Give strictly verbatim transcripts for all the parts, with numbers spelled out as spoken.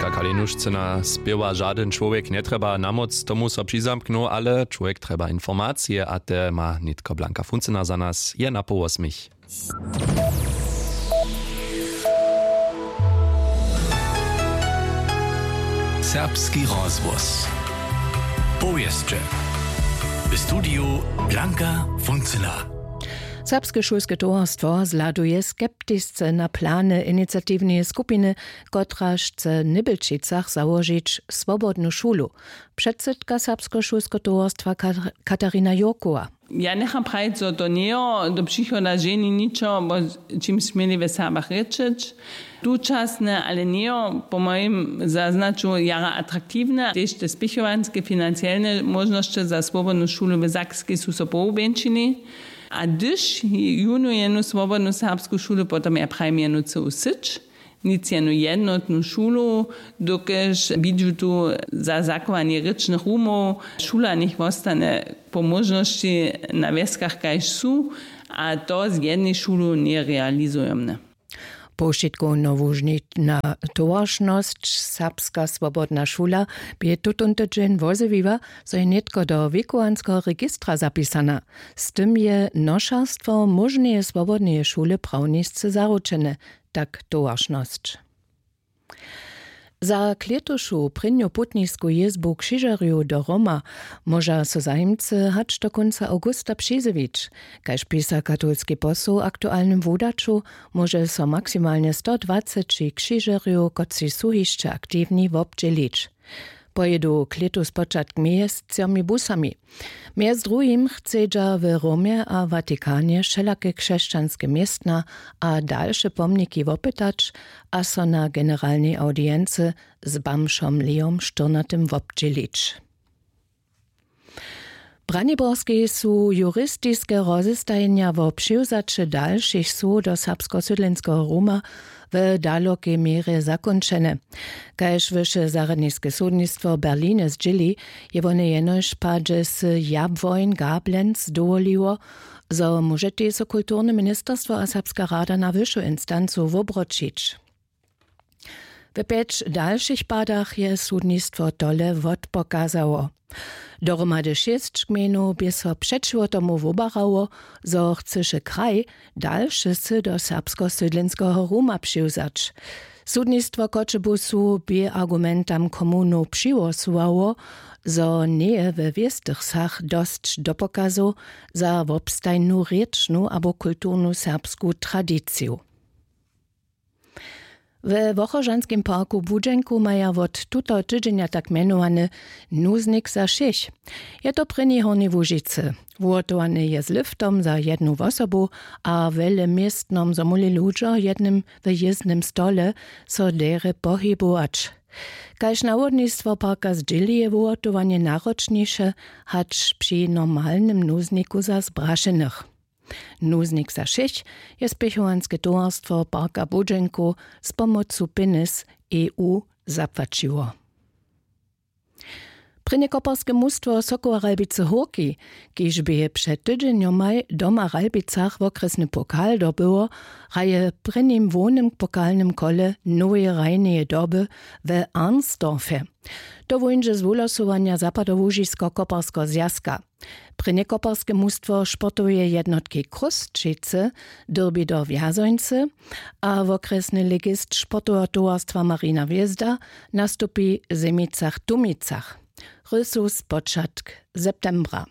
Kakalinuşcyna spěwa žadyn čłowjek njetrjeba na móc tomu so přizamknął, ale čłowjek trjeba informacije a te ma nětko blanka funcyna za nas je na połosmich. Serbski rozhłos. Powěsće. W studiju Blanka Funcyna. Serbske šulske towarstwo zhladuje skeptisce na plany iniciatiwneje skupiny, kotraž chce w Nybelčicach załožić swobodnu šulu. Předsydka serbskeho šulskeho towarstwa Katarina Jurkowa. Ja njecham prajić, zo to njejo do přichoda ženi ničo, wo čimž směli w Serbach rěčeć. Tučasne, ale njejo po mojim zaznaću jara atraktiwne, tež te spěchowanske financielne móžnosće za swobodnu šulu w Sakskej su so pohubjeńšili. A hdyž junu jednu swobodnu serbsku šulu, potom ja prajim jednu cyłu syć, nic jednu jednotnu šulu, dokelž widźu tu za zachowanje rěčnych rumow, šula njech wostane po móžnosći na wjeskach kaž su, a to z jednej šulu njerealizujomne. Powšitkowna łužnitna towaršnosć, serbska swobodna šula, bě tutón tydźeń wozjewiła, zo je nětko do wěkowanskeho registra zapisana. Z tym je nošerstwo móžneje swobodneje šule prawnisce zaručene, tak towaršnosć. Za klětušu prěnju putnisku jězbu křižerjow do Roma móža so zajimcy hač do kónca awgusta přizjewić. Kaž pisa katolski posł w aktualnym wudaću, móže so maksimalnje sto dwaceći křižerjow, kotřiž su hišće aktiwni, wobdźělić. Pojědu klětu spočatk mjeztřomi busami. Mjez druhim chcedźa w Romje a Watikanje wšelake křesćanske městna a dalše pomniki wopytać a so na generalnej awdiency z bamžom Leom štyrnatym wobdźělić. W Braniborskej su juristiske rozestajenja wo přiwzaće dalšich słow do serbskeho sydlenskeho Ruma w dalokej měrje zakónčene. Kaž wyše zarjadniske sudnistwo w Berlinje zdźěli, je wone jenož padźe sy Jabłoń Gablenz dowoliło, zo móžetej so kulturne ministerstwo a serbska rada na wyšu instancu wobroćić. W pjeć dalšich padach je sudnistwo tole wotpokazało. Dohromady šěsć gmejnow bě so přećiwo tomu wobarało, zo chcyše kraj dalše sy do serbskeho sydlenskeho Ruma přiwzać. Sudnistwo w Choćebuzu bě argumentam komunow přihłosowało, zo njeje we wěstych wsach dosć dopokazow za wobstajnu rěčnu abo kulturnu serbsku tradiciju. We Wochožanskim parku w Budźenku maja wot tutoho tydźenja tak mjenowany nuznik za wšěch. Je to w prěnjej Hornjej Łužicy. Wuhotowany je z liftom za jednu wosobu a wjele městnom, zo móhli ludźo w jednym, w jězbnym stole so derje pohibować. Kaž nawodnistwo parka zdźěli, je wuhotowanje naročniše hač při normalnym nuzniku za zbrašenych. Nuznik za wšěch je spěchowanske towarstwo parka w Budźenku z pomocu pjenjez E U zapłaćiło. Prěnje koparske mustwo Sokoła Ralbicy Hórki, kiž bě před tydźenjomaj doma w Ralbicach wokrjesny pokal dobyło, hraje w prěnim hłownym pokalnym kole noweje hrajneje doby we Arnsdorfje. To wóńdźe z wuhlosowanja Zapadołužisko-koparskeho zwjazka. Prěnje koparske mustwo sportoweje jednotki Chrósćicy dyrbi do Wjazońcy a wokrjesny ligist sportoweho towarstwa Marina Hwězda nastupi w Zemicach-Tumicach. Rysu spočatk septembra.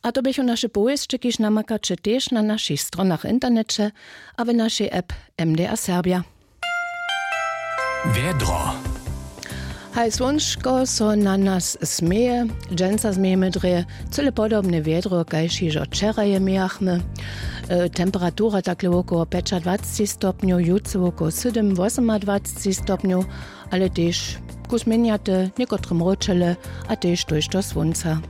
A to běchu naše powěsće, kiž namakaće tež na našich stronach w interneće a w našej app M D R Serbja. Wjedro. Haj, słónčko so na nas směje. Dźensa změjemy drje cyle podobne wjedro kaž hižo wčeraje mějachmy. E, temperatura takle wokoło pjećadwacci stopnjow, jutře wokoło sydym wosomadwacci stopnjow, ale tež kus měnjate, někotre mróčele a tež tójšto słónca.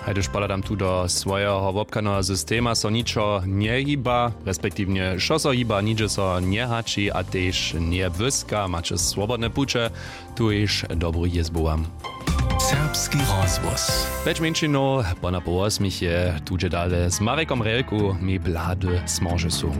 Hajduž pohladam tu do swojeho wobchadneho systema, so ničo njehiba, respektiwnje wšo so hiba, nihdźe so njehaći a tež njebłyska. Maće swobodne puće, tuž dobru jězbu wam. Serbski rozhłos. Pjeć mjeńšinow pona poł wosmich je tuže dale z Marekom Relku, mi blady smorže su.